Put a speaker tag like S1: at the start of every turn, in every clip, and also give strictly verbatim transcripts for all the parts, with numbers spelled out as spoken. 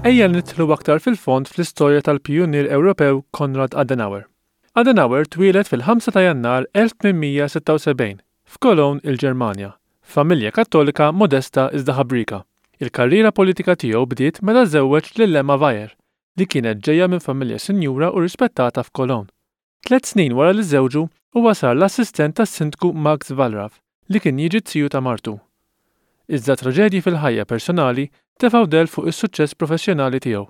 S1: Ejja nidħlu aktar fil-fond fl-istorja tal-pijunier Ewropew Konrad Adenauer. Adenauer twieled fil-ħamsa ta' Jannar elf tmien mija sitta u sebgħin f'Cologne, il-Ġermanja, familja Kattolika modesta iżda ħabrika. Il-karriera politika tiegħu bdiet meta żewweġ lil Emma Weyer, li kienet ġejja minn familja sinjura u rispettata f'Cologne. Tliet snin wara li żewġu, huwa sar l-assistent tas-sindku Max Wallraff, li kien jiġi z-ziju ta' martu. Iżda traġedji fil-ħajja personali tefgħu del fuq is-suċċess professjonali tiegħu.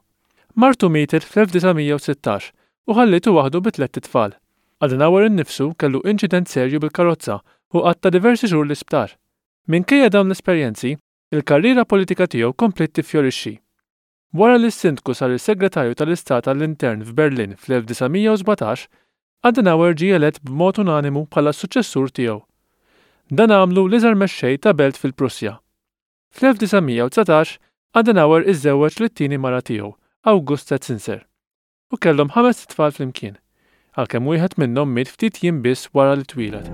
S1: Martu mietet fl-elf disa' mija u sittax u ħallietu waħdu bi tlett itfal. Adenauer innifsu kellu inċident serju bil-karozza u qatta diversi xhur l-isptar. Minkejja dawn l-esperjenzi, il-karriera politika tiegħu kompliet tiffjorixxi. Wara li s-sindku sar il-segretarju tal-Istat għall-Intern f'Berlin fl-elf disa' mija u sbatax, Adenauer ġie elett b'mod unanimu bħala s-suċċessur tiegħu. Dan għamlu l-iżgħar mexxej ta' belt fil-Prussja. Fl-elf disa' mija u dsatax, Adenauer iżżewweġ lit-tieni mara tiegħu, Augusta Zinser, u kellhom ħames tfal flimkien, għalkemm wieħed minnhom miet ftit jiem biss wara li twieled.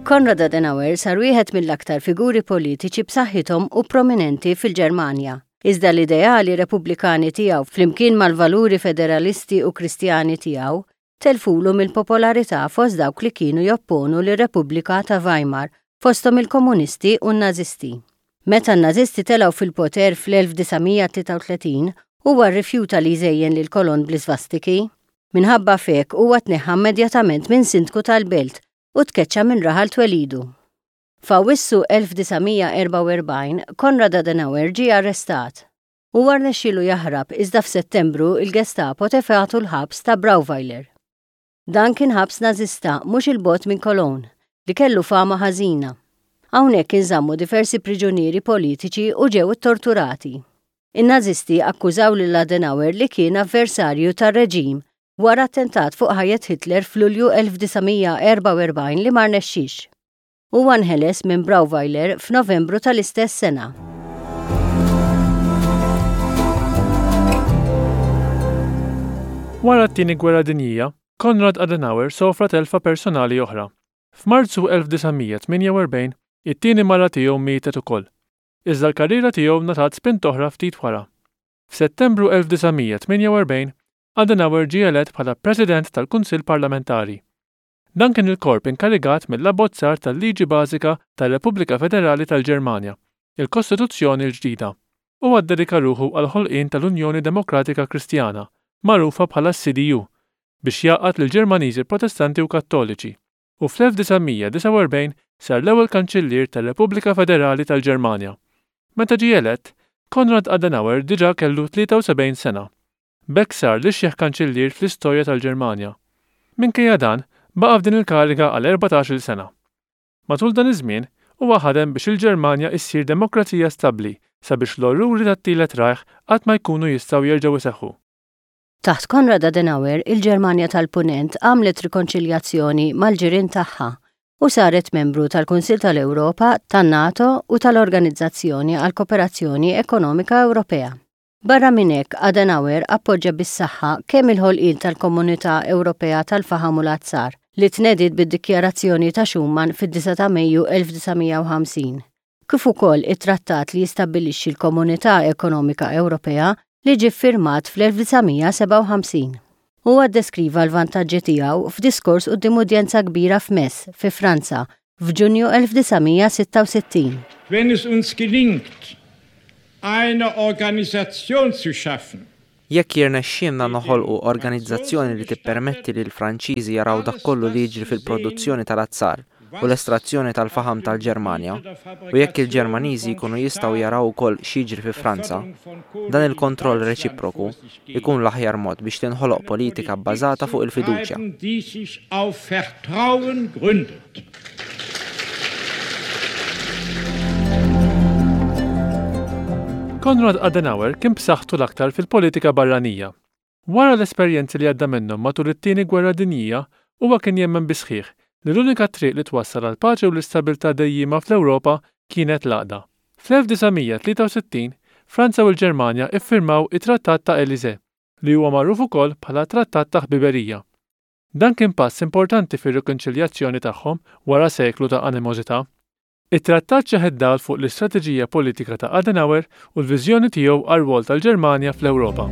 S2: Konrad Adenauer sar wieħed mill-aktar figuri politiċi b'saħħithom u prominenti fil-Ġermanja. Iżda l-ideali repubblikani tiegħu flimkien mal-valuri federalisti u kristjani tiegħu telfulu mill-popolarità fost dawk li kienu jopponu lir-Repubblika ta' Weimar, fosthom il-komunisti u n-nazisti. Meta n-nazisti telgħu fil-poter fl-elf disa' mija tlieta u tletin, huwa rrifjuta li jżejjen lil Cologne bl-isvastiki. Minħabba f'hekk huwa tneħħa immedjatament minn sindku tal-belt u tkeċċa minn raħal twelidu. F'Awwissu elf disa' mija erbgħa u erbgħin, Konrad Adenauer ġie arrestat. Huwa rnexxielu jaħrab, iżda f'Settembru il-Gestapo tefgħatu l-ħabs ta' Brauweiler. Dan kien ħabs nażista mhux il-bogħod minn Cologne li kellu fama ħażina. Hawnhekk inżammu diversi priġunieri politiċi u ġew torturati. In-nazisti akkużaw lil Adenauer li kien avversarju tar-reġim wara attentat fuq ħajjet Hitler f'Lulju elf disa' mija erbgħa u erbgħin li ma rnexxix. Huwa nħeles minn Brauweiler f'Novembru tal-istess sena.
S1: Wara t-Tieni Gwerra Dinjija, Konrad Adenauer sofra telfa personali oħra. F'Marzu elf disa' mija tmienja u erbgħin, it-tieni mara tiegħu mietet ukoll. Iżda l-karriera tiegħu ngħatat spint oħra ftit wara. F'Settembru elf disa' mija tmienja u erbgħin, Adenauer ġie elett bħala President tal-Kunsill Parlamentari. Dan kien il-korp inkarigat mill-abbozzar tal-Liġi Bażika tar-Repubblika Federali tal-Ġermanja, il-Kostituzzjoni l-ġdida. Huwa ddedika ruħu għall-ħolqien tal-Unjoni Demokratika Kristjana, magħrufa bħala C D U, biex jgħaqqad lill-Ġermaniżi Protestanti u Kattoliċi, u fl-elf disa' mija disgħa u erbgħin sar l-ewwel Kanċillier tar-Repubblika Federali tal-Ġermanja. Meta ġie elett, Konrad Adenauer diġà kellu tlieta u sebgħin sena. B'hekk sar l-ixjeħ kanċillier fl-istorja tal-Ġermanja. Minkejja dan, baqa' f'din il-kariga għal erbatax-il sena. Matul dan iż-żmien, huwa ħadem biex il-Ġermanja issir demokrazija stabbli sabiex l-orruri tat-Tielet Reich qatt ma jkunu jistgħu jerġgħu iseħħu.
S2: Taħt Konrad Adenauer, il-Ġermanja tal-Punent għamlet rikonċiljazzjoni mal-ġirien tagħha u saret membru tal-Kunsil tal-Ewropa, tan-NATO u tal-Organizzazzjoni għal Kooperazzjoni Ekonomika Ewropea. Barra minn hekk, Adenauer appoġġa bis-saħħa kemm il-ħolqien tal-Komunità Ewropea tal-Faħam u l-Azzar li tnediet bid-Dikjarazzjoni ta' Schuman fid-disgħa ta' Mejju elf disa' mija u ħamsin, kif ukoll it-trattat li jistabbilixxi l-Komunità Ekonomika Ewropea li ġie ffirmat fl-elf disa' mija sebgħa u ħamsin. Huwa ddeskriva l-vantaġġi tiegħu f'diskors quddiem udjenza kbira f'Metz, fi Franza, f'Ġunju elf disa' mija sitta u sittin.
S3: Wenn es uns gelingt, eine Organisation zu schaffen,
S4: Jekk jirnexxielna noħolqu organizzazzjoni li tippermetti li l-Franċiżi jaraw dak kollu li jiġri fil-produzzjoni tal-azzar u l-estrazzjoni tal-faħam tal-Ġermanja, u jekk il-Ġermaniżi jkunu jistgħu jaraw ukoll x'jiġri fi Franza, dan il-kontroll reċiproku jkun l-aħjar mod biex tinħoloq politika bbażata fuq il-fiduċja.
S3: Die sich auf Vertrauen gründet.
S1: Konrad Adenauer kien b'saħħtu l-aktar fil-politika barranija. Wara l-esperjenzi li għadda minnhom matul it-Tieni Gwerra Dinjija, huwa kien jemmen bis-sħiħ li l-unika triq li twassal għal paċi u l-istabilità dejjima fl-Ewropa kienet l-għaqda. Fl-elf disa' mija tlieta u sittin, Franza u l-Ġermanja iffirmaw it-Trattat ta' Elysee, li huwa magħruf ukoll bħala Trattat ta' Ħbiberija. Dan kien pass importanti fir-rikonċiljazzjoni tagħhom wara seklu ta' animożità. It-trattat xeħet dawl fuq l-istrateġija politika ta' Adenauer u l-viżjoni tiegħu għar-rwol tal-Ġermanja fl-Ewropa.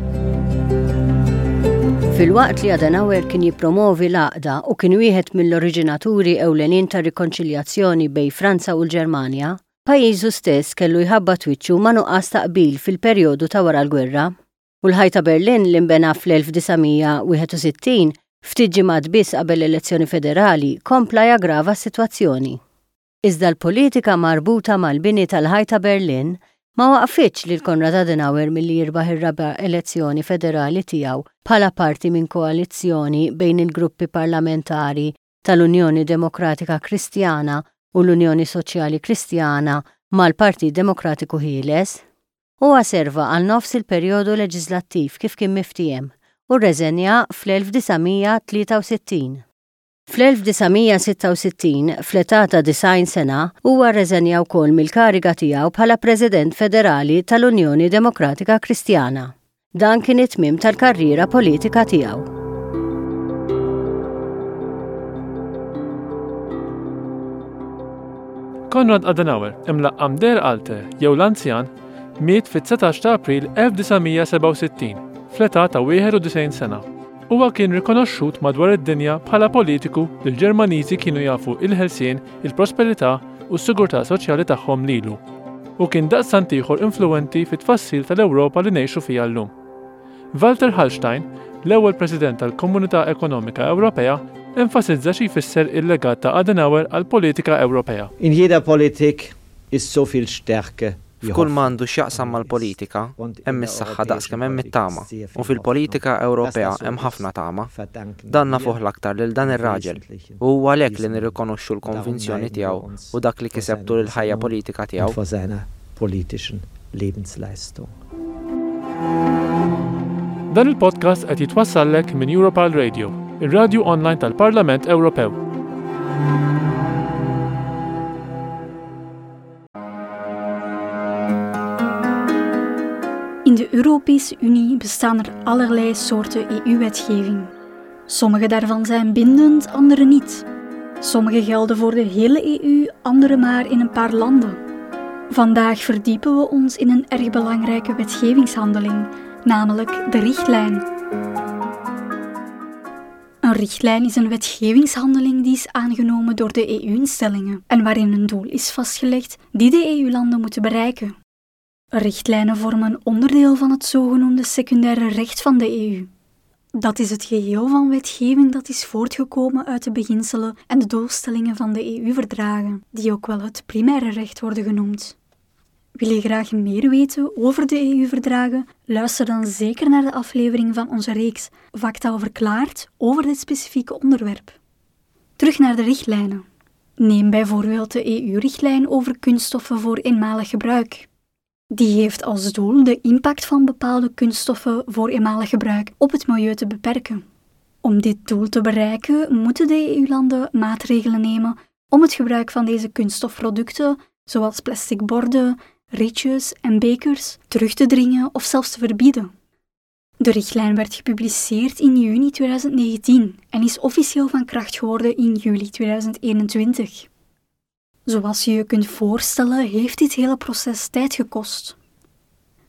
S2: Filwaqt li Adenauer kien jippromovi l-għaqda u kien wieħed mill-oriġinaturi ewlenin ta' rikonċiljazzjoni bejn Franza u l-Ġermanja, pajjiżu stess kellu jħabbat wiċċu ma' nuqqas ta' qbil fil-perjodu ta' wara l-gwerra. U l-ħajt ta' Berlin li nbena fl-elf disa' mija wieħed u sittin ftit ġimgħat biss qabel l-elezzjoni federali kompla jaggrava s-sitwazzjoni. Iżda l-politika marbuta mal-bini tal-ħajt ta' Berlin ma waqfitx lil Konrad Adenauer milli jirbaħ ir-raba' elezzjoni federali tiegħu bħala parti minn koalizzjoni bejn il-gruppi parlamentari tal-Unjoni Demokratika Kristjana u l-Unjoni Soċjali Kristjana mal-Partit Demokratiku Ħieles. Huwa serva għal nofs il-perjodu leġislattiv kif kien miftiehem u rreżenja fl-elf disa' mija tlieta u sittin. Fl-elf disa' mija sitta u sittin, fl-età ta' disgħin sena, huwa rreżenja wkoll mill-kariga tiegħu bħala President Federali tal-Unjoni Demokratika Kristjana. Dan kien it-tmiem tal-karriera politika tiegħu.
S1: Konrad Adenauer, imlaqqam Der Alte jew l-Anzjan, miet fit-dsatax ta' April elf disa' mija sebgħa u sittin, fl-età ta' wieħed u disgħin sena. Huwa kien rikonoxxut madwar id-dinja bħala politiku li l-Ġermaniżi kienu jafu il-ħelsien, il-prosperità u s-sigurtà soċjali tagħhom lilu, u kien daqstant ieħor influwenti fit-tfassil tal-Ewropa li ngħixu fiha llum. Walter Hallstein, l-ewwel President tal-Komunità Ekonomika Ewropea, enfasizza xi jfisser il-legat ta' Adenauer għall-politika Ewropea.
S5: In jeder Politik ist so viel Stärke
S4: F'kull ma għandu x'jaqsam mal-politika, hemm is-saħħa daqskemm hemm it-tama, u fil-politika Ewropea hemm ħafna tama. Dan nafuh l-aktar lil dan ir-raġel, u huwa għalhekk li nirrikonoxxu l-konvinzjoni tiegħu u dak li kiseb tul il-ħajja politika tiegħu.
S5: Vor seiner politischen Lebensleistung.
S1: Dan il-podcast qed jitwassallek minn Europarl Radio, ir-radju online tal-Parlament Ewropew.
S6: In de Europese Unie bestaan er allerlei soorten E U-wetgeving. Sommige daarvan zijn bindend, andere niet. Sommige gelden voor de hele E U, andere maar in een paar landen. Vandaag verdiepen we ons in een erg belangrijke wetgevingshandeling, namelijk de richtlijn. Een richtlijn is een wetgevingshandeling die is aangenomen door de E U-instellingen en waarin een doel is vastgelegd die de E U-landen moeten bereiken. Richtlijnen vormen een onderdeel van het zogenoemde secundaire recht van de E U. Dat is het geheel van wetgeving dat is voortgekomen uit de beginselen en de doelstellingen van de E U-verdragen, die ook wel het primaire recht worden genoemd. Wil je graag meer weten over de E U-verdragen? Luister dan zeker naar de aflevering van onze reeks Vaktaal Verklaard over dit specifieke onderwerp. Terug naar de richtlijnen. Neem bijvoorbeeld de E U-richtlijn over kunststoffen voor eenmalig gebruik. Die heeft als doel de impact van bepaalde kunststoffen voor eenmalig gebruik op het milieu te beperken. Om dit doel te bereiken, moeten de E U-landen maatregelen nemen om het gebruik van deze kunststofproducten, zoals plastic borden, rietjes en bekers, terug te dringen of zelfs te verbieden. De richtlijn werd gepubliceerd in juni tweeduizend negentien en is officieel van kracht geworden in juli tweeduizend eenentwintig. Zoals je je kunt voorstellen, heeft dit hele proces tijd gekost.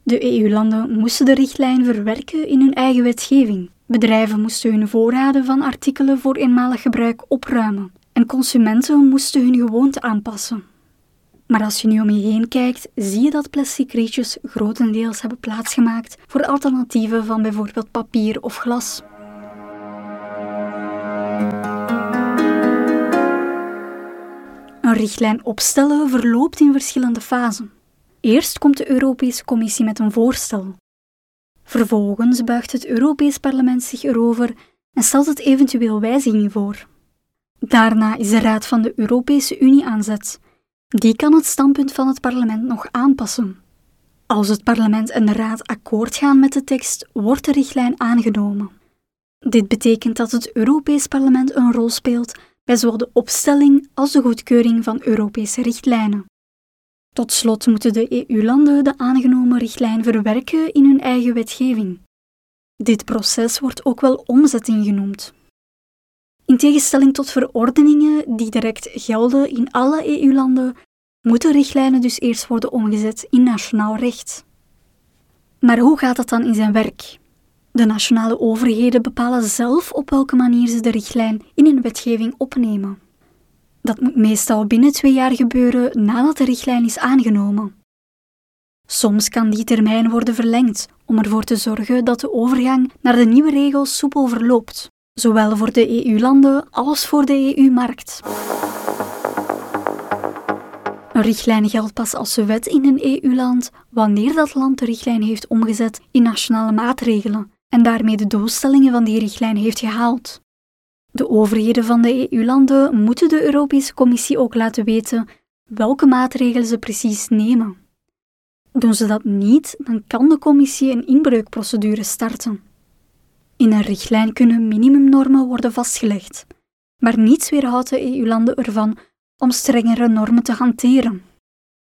S6: De E U-landen moesten de richtlijn verwerken in hun eigen wetgeving. Bedrijven moesten hun voorraden van artikelen voor eenmalig gebruik opruimen en consumenten moesten hun gewoonten aanpassen. Maar als je nu om je heen kijkt, zie je dat plastic rietjes grotendeels hebben plaatsgemaakt voor alternatieven van bijvoorbeeld papier of glas. Een richtlijn opstellen verloopt in verschillende fasen. Eerst komt de Europese Commissie met een voorstel. Vervolgens buigt het Europees Parlement zich erover en stelt het eventueel wijzigingen voor. Daarna is de Raad van de Europese Unie aan zet. Die kan het standpunt van het parlement nog aanpassen. Als het parlement en de Raad akkoord gaan met de tekst, wordt de richtlijn aangenomen. Dit betekent dat het Europees Parlement een rol speelt bij zowel de opstelling als de goedkeuring van Europese richtlijnen. Tot slot moeten de E U-landen de aangenomen richtlijn verwerken in hun eigen wetgeving. Dit proces wordt ook wel omzetting genoemd. In tegenstelling tot verordeningen die direct gelden in alle E U-landen, moeten richtlijnen dus eerst worden omgezet in nationaal recht. Maar hoe gaat dat dan in zijn werk? De nationale overheden bepalen zelf op welke manier ze de richtlijn in hun wetgeving opnemen. Dat moet meestal binnen twee jaar gebeuren nadat de richtlijn is aangenomen. Soms kan die termijn worden verlengd om ervoor te zorgen dat de overgang naar de nieuwe regels soepel verloopt, zowel voor de E U-landen als voor de E U-markt. Een richtlijn geldt pas als wet in een E U-land wanneer dat land de richtlijn heeft omgezet in nationale maatregelen en daarmee de doelstellingen van die richtlijn heeft gehaald. De overheden van de E U-landen moeten de Europese Commissie ook laten weten welke maatregelen ze precies nemen. Doen ze dat niet, dan kan de Commissie een inbreukprocedure starten. In een richtlijn kunnen minimumnormen worden vastgelegd, maar niets weerhoudt de E U-landen ervan om strengere normen te hanteren.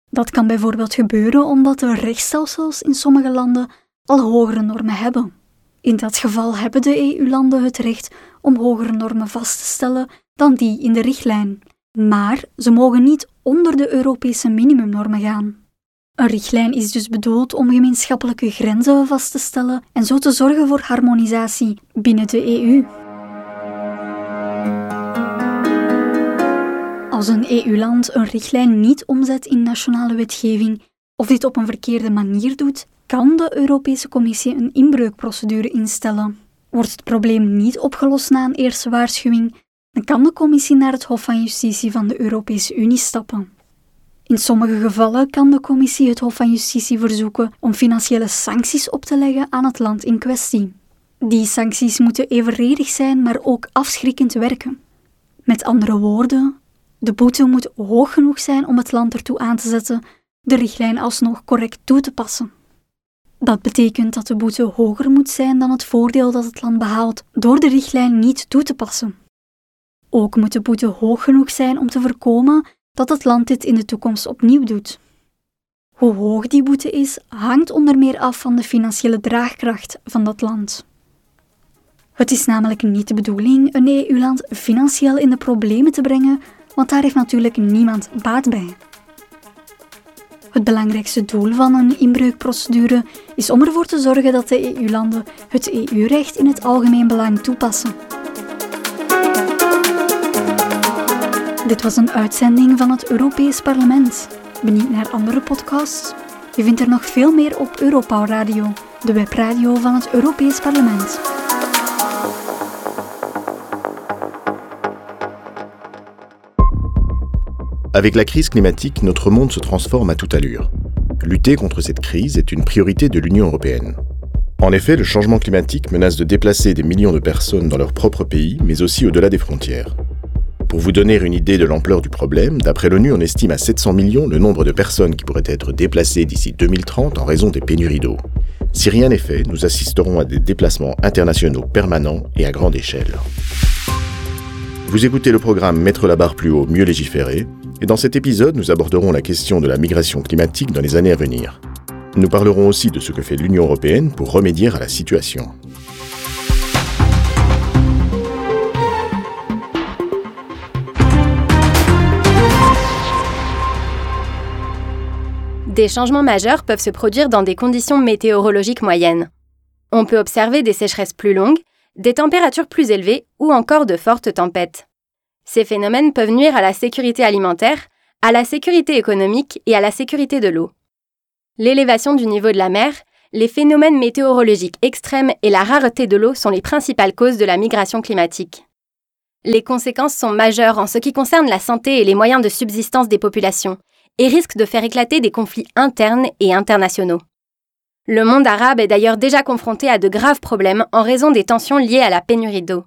S6: Dat kan bijvoorbeeld gebeuren omdat de rechtsstelsels in sommige landen al hogere normen hebben. In dat geval hebben de E U-landen het recht om hogere normen vast te stellen dan die in de richtlijn. Maar ze mogen niet onder de Europese minimumnormen gaan. Een richtlijn is dus bedoeld om gemeenschappelijke grenzen vast te stellen en zo te zorgen voor harmonisatie binnen de E U. Als een E U-land een richtlijn niet omzet in nationale wetgeving of dit op een verkeerde manier doet, kan de Europese Commissie een inbreukprocedure instellen. Wordt het probleem niet opgelost na een eerste waarschuwing, dan kan de Commissie naar het Hof van Justitie van de Europese Unie stappen. In sommige gevallen kan de Commissie het Hof van Justitie verzoeken om financiële sancties op te leggen aan het land in kwestie. Die sancties moeten evenredig zijn, maar ook afschrikkend werken. Met andere woorden, de boete moet hoog genoeg zijn om het land ertoe aan te zetten de richtlijn alsnog correct toe te passen. Dat betekent dat de boete hoger moet zijn dan het voordeel dat het land behaalt door de richtlijn niet toe te passen. Ook moet de boete hoog genoeg zijn om te voorkomen dat het land dit in de toekomst opnieuw doet. Hoe hoog die boete is, hangt onder meer af van de financiële draagkracht van dat land. Het is namelijk niet de bedoeling een E U-land financieel in de problemen te brengen, want daar heeft natuurlijk niemand baat bij. Het belangrijkste doel van een inbreukprocedure is om ervoor te zorgen dat de E U-landen het E U-recht in het algemeen belang toepassen. Dit was een uitzending van het Europees Parlement. Benieuwd naar andere podcasts? Je vindt er nog veel meer op Europarl Radio, de webradio van het Europees Parlement.
S7: Avec la crise climatique, notre monde se transforme à toute allure. Lutter contre cette crise est une priorité de l'Union européenne. En effet, le changement climatique menace de déplacer des millions de personnes dans leur propre pays, mais aussi au-delà des frontières. Pour vous donner une idée de l'ampleur du problème, d'après l'ONU, on estime à sept cents millions le nombre de personnes qui pourraient être déplacées d'ici deux mille trente en raison des pénuries d'eau. Si rien n'est fait, nous assisterons à des déplacements internationaux permanents et à grande échelle. Vous écoutez le programme Mettre la barre plus haut, mieux légiférer, et dans cet épisode, nous aborderons la question de la migration climatique dans les années à venir. Nous parlerons aussi de ce que fait l'Union européenne pour remédier à la situation.
S8: Des changements majeurs peuvent se produire dans des conditions météorologiques moyennes. On peut observer des sécheresses plus longues, des températures plus élevées ou encore de fortes tempêtes. Ces phénomènes peuvent nuire à la sécurité alimentaire, à la sécurité économique et à la sécurité de l'eau. L'élévation du niveau de la mer, les phénomènes météorologiques extrêmes et la rareté de l'eau sont les principales causes de la migration climatique. Les conséquences sont majeures en ce qui concerne la santé et les moyens de subsistance des populations et risquent de faire éclater des conflits internes et internationaux. Le monde arabe est d'ailleurs déjà confronté à de graves problèmes en raison des tensions liées à la pénurie d'eau.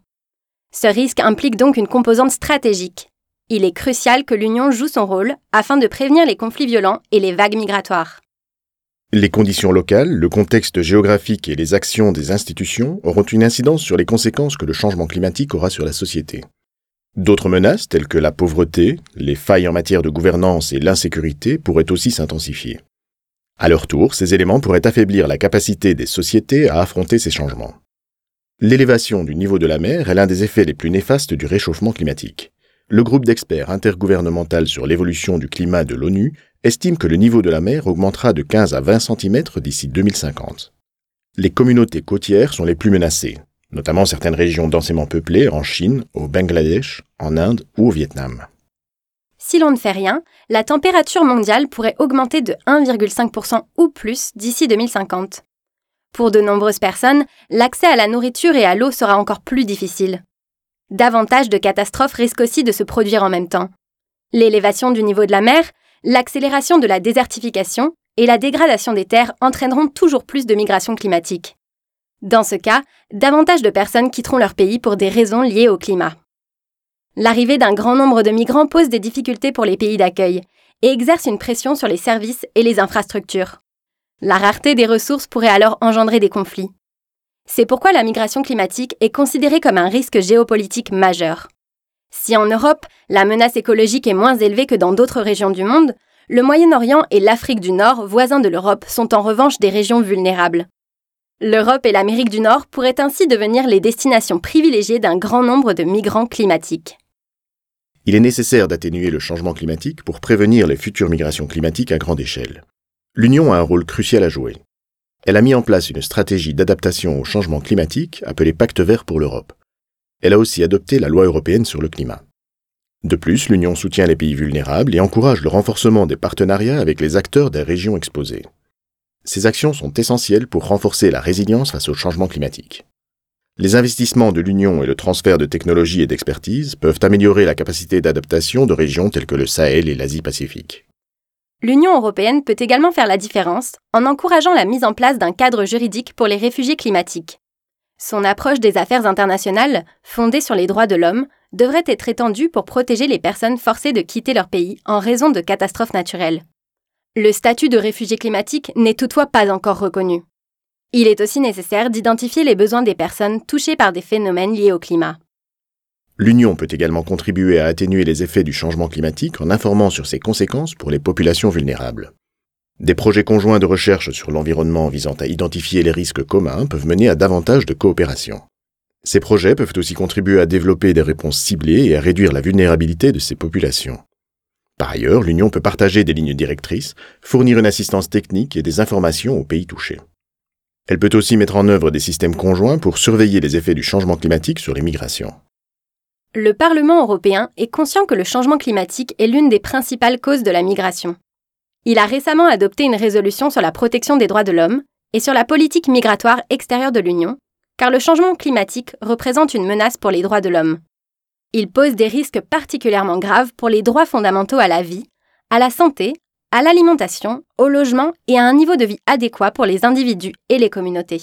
S8: Ce risque implique donc une composante stratégique. Il est crucial que l'Union joue son rôle afin de prévenir les conflits violents et les vagues migratoires.
S7: Les conditions locales, le contexte géographique et les actions des institutions auront une incidence sur les conséquences que le changement climatique aura sur la société. D'autres menaces, telles que la pauvreté, les failles en matière de gouvernance et l'insécurité, pourraient aussi s'intensifier. À leur tour, ces éléments pourraient affaiblir la capacité des sociétés à affronter ces changements. L'élévation du niveau de la mer est l'un des effets les plus néfastes du réchauffement climatique. Le groupe d'experts intergouvernemental sur l'évolution du climat de l'ONU estime que le niveau de la mer augmentera de quinze à vingt centimètres d'ici deux mille cinquante. Les communautés côtières sont les plus menacées, notamment certaines régions densément peuplées en Chine, au Bangladesh, en Inde ou au Vietnam.
S8: Si l'on ne fait rien, la température mondiale pourrait augmenter de un virgule cinq pour cent ou plus d'ici deux mille cinquante. Pour de nombreuses personnes, l'accès à la nourriture et à l'eau sera encore plus difficile. Davantage de catastrophes risquent aussi de se produire en même temps. L'élévation du niveau de la mer, l'accélération de la désertification et la dégradation des terres entraîneront toujours plus de migrations climatiques. Dans ce cas, davantage de personnes quitteront leur pays pour des raisons liées au climat. L'arrivée d'un grand nombre de migrants pose des difficultés pour les pays d'accueil et exerce une pression sur les services et les infrastructures. La rareté des ressources pourrait alors engendrer des conflits. C'est pourquoi la migration climatique est considérée comme un risque géopolitique majeur. Si en Europe, la menace écologique est moins élevée que dans d'autres régions du monde, le Moyen-Orient et l'Afrique du Nord, voisins de l'Europe, sont en revanche des régions vulnérables. L'Europe et l'Amérique du Nord pourraient ainsi devenir les destinations privilégiées d'un grand nombre de migrants climatiques.
S7: Il est nécessaire d'atténuer le changement climatique pour prévenir les futures migrations climatiques à grande échelle. L'Union a un rôle crucial à jouer. Elle a mis en place une stratégie d'adaptation au changement climatique appelée Pacte vert pour l'Europe. Elle a aussi adopté la loi européenne sur le climat. De plus, l'Union soutient les pays vulnérables et encourage le renforcement des partenariats avec les acteurs des régions exposées. Ces actions sont essentielles pour renforcer la résilience face au changement climatique. Les investissements de l'Union et le transfert de technologies et d'expertise peuvent améliorer la capacité d'adaptation de régions telles que le Sahel et l'Asie-Pacifique.
S8: L'Union européenne peut également faire la différence en encourageant la mise en place d'un cadre juridique pour les réfugiés climatiques. Son approche des affaires internationales, fondée sur les droits de l'homme, devrait être étendue pour protéger les personnes forcées de quitter leur pays en raison de catastrophes naturelles. Le statut de réfugié climatique n'est toutefois pas encore reconnu. Il est aussi nécessaire d'identifier les besoins des personnes touchées par des phénomènes liés au climat.
S7: L'Union peut également contribuer à atténuer les effets du changement climatique en informant sur ses conséquences pour les populations vulnérables. Des projets conjoints de recherche sur l'environnement visant à identifier les risques communs peuvent mener à davantage de coopération. Ces projets peuvent aussi contribuer à développer des réponses ciblées et à réduire la vulnérabilité de ces populations. Par ailleurs, l'Union peut partager des lignes directrices, fournir une assistance technique et des informations aux pays touchés. Elle peut aussi mettre en œuvre des systèmes conjoints pour surveiller les effets du changement climatique sur les migrations.
S8: Le Parlement européen est conscient que le changement climatique est l'une des principales causes de la migration. Il a récemment adopté une résolution sur la protection des droits de l'homme et sur la politique migratoire extérieure de l'Union, car le changement climatique représente une menace pour les droits de l'homme. Il pose des risques particulièrement graves pour les droits fondamentaux à la vie, à la santé, à l'alimentation, au logement et à un niveau de vie adéquat pour les individus et les communautés.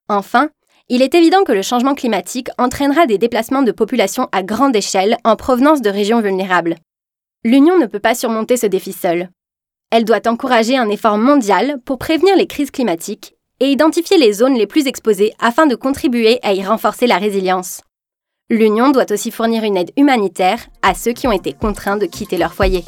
S8: Enfin, il est évident que le changement climatique entraînera des déplacements de populations à grande échelle en provenance de régions vulnérables. L'Union ne peut pas surmonter ce défi seule. Elle doit encourager un effort mondial pour prévenir les crises climatiques et identifier les zones les plus exposées afin de contribuer à y renforcer la résilience. L'Union doit aussi fournir une aide humanitaire à ceux qui ont été contraints de quitter leur foyer.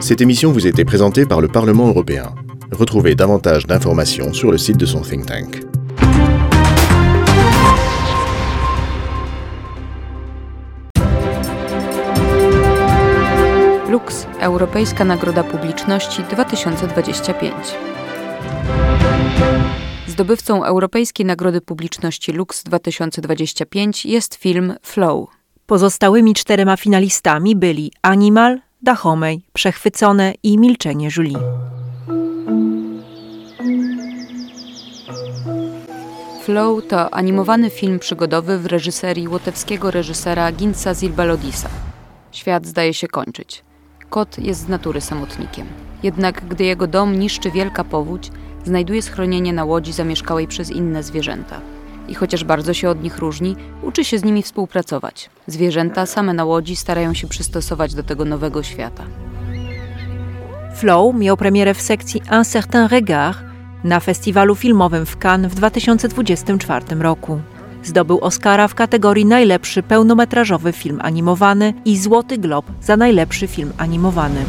S7: Cette émission vous a été présentée par le Parlement européen. Retrouvez davantage d'informations sur le site de son think tank.
S9: Lux, Europejska Nagroda Publiczności dwa tysiące dwadzieścia pięć. Zdobywcą Europejskiej Nagrody Publiczności Lux dwa tysiące dwadzieścia pięć jest film Flow.
S10: Pozostałymi czterema finalistami byli Animal, Dahomey, Przechwycone i Milczenie Julie.
S9: Flow to animowany film przygodowy w reżyserii łotewskiego reżysera Gintsa Zilbalodisa. Świat zdaje się kończyć. Kot jest z natury samotnikiem. Jednak gdy jego dom niszczy wielka powódź, znajduje schronienie na łodzi zamieszkałej przez inne zwierzęta. I chociaż bardzo się od nich różni, uczy się z nimi współpracować. Zwierzęta same na łodzi starają się przystosować do tego nowego świata.
S10: Flow miał premierę w sekcji Un certain regard na festiwalu filmowym w Cannes w dwa tysiące dwudziestym czwartym roku. Zdobył Oscara w kategorii najlepszy pełnometrażowy film animowany i Złoty Glob za najlepszy film animowany.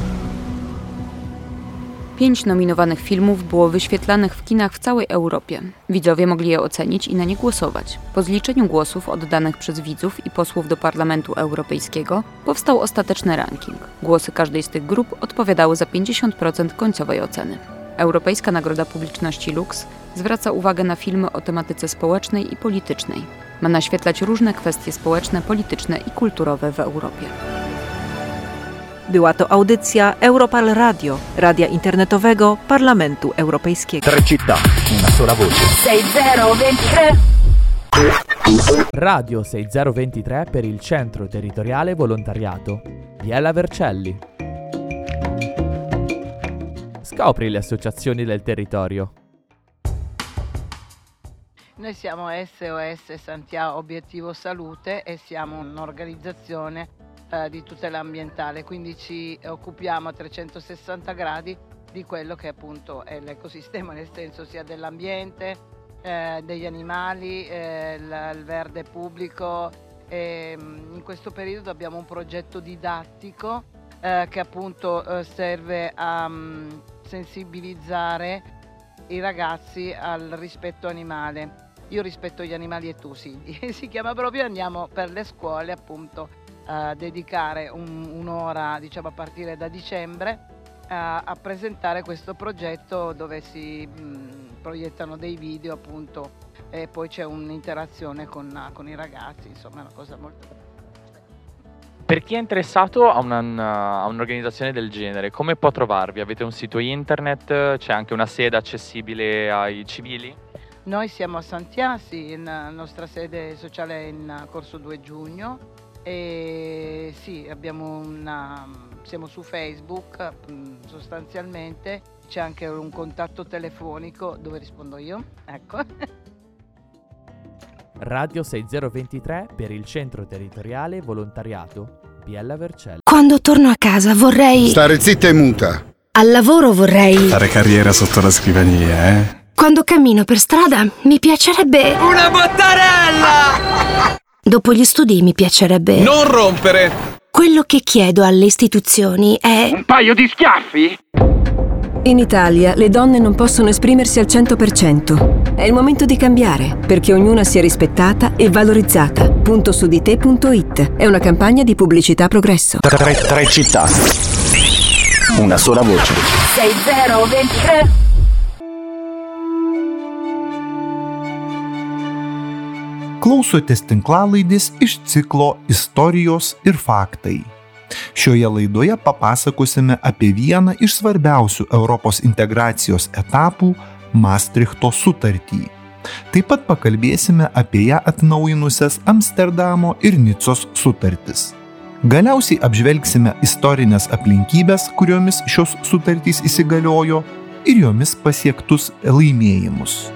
S9: Pięć nominowanych filmów było wyświetlanych w kinach w całej Europie. Widzowie mogli je ocenić i na nie głosować. Po zliczeniu głosów oddanych przez widzów i posłów do Parlamentu Europejskiego powstał ostateczny ranking. Głosy każdej z tych grup odpowiadały za pięćdziesiąt procent końcowej oceny. Europejska Nagroda Publiczności Lux zwraca uwagę na filmy o tematyce społecznej i politycznej. Ma naświetlać różne kwestie społeczne, polityczne i kulturowe w Europie.
S10: Była to audycja Europarl Radio, radia internetowego Parlamentu Europejskiego.
S11: Tre città, una sola voce.
S12: sei zero ventitré.
S13: Radio sei zero ventitré per il Centro Territoriale Volontariato Biella Vercelli. Scopri le associazioni del territorio.
S14: Noi siamo S O S Santhià Obiettivo Salute e siamo un'organizzazione, eh, di tutela ambientale, quindi ci occupiamo a trecentosessanta gradi di quello che appunto è l'ecosistema, nel senso sia dell'ambiente, eh, degli animali, eh, il, il verde pubblico. E, mm, in questo periodo abbiamo un progetto didattico, eh, che appunto, eh, serve a, mm, sensibilizzare i ragazzi al rispetto animale. Io rispetto gli animali e tu sì, si chiama proprio. Andiamo per le scuole appunto a dedicare un, un'ora, diciamo a partire da dicembre, a, a presentare questo progetto dove si, mm, proiettano dei video appunto e poi c'è un'interazione con, con i ragazzi, insomma è una cosa molto bella.
S15: Per chi è interessato a una, a un'organizzazione del genere, come può trovarvi? Avete un sito internet? C'è anche una sede accessibile ai civili?
S14: Noi siamo a Santhià, sì, la nostra sede sociale è in Corso due Giugno e sì, abbiamo una, siamo su Facebook, mm, sostanzialmente, c'è anche un contatto telefonico dove rispondo io, ecco.
S13: Radio sei zero ventitré per il Centro Territoriale Volontariato Biella Vercelli.
S16: Quando torno a casa vorrei
S17: stare zitta e muta.
S16: Al lavoro vorrei
S18: fare carriera sotto la scrivania, eh?
S16: Quando cammino per strada mi piacerebbe
S19: una bottarella!
S16: Dopo gli studi mi piacerebbe
S19: non rompere.
S16: Quello che chiedo alle istituzioni è
S19: un paio di schiaffi?
S20: In Italia le donne non possono esprimersi al cento per cento. È il momento di cambiare, perché ognuna sia rispettata e valorizzata. Punto su di te punto it è una campagna di pubblicità Progresso.
S11: Tre, tre città, una sola voce.
S12: sei zero ventitré.
S21: Klausotės tinklalaidės iš ciklo Istorijos ir faktai. Šioje laidoje papasakosime apie vieną iš svarbiausių Europos integracijos etapų – Mastrichto sutartį. Taip pat pakalbėsime apie ją atnaujinusias Amsterdamo ir Nicos sutartis. Galiausiai apžvelgsime istorines aplinkybes, kuriomis šios sutartys įsigaliojo, ir jomis pasiektus laimėjimus.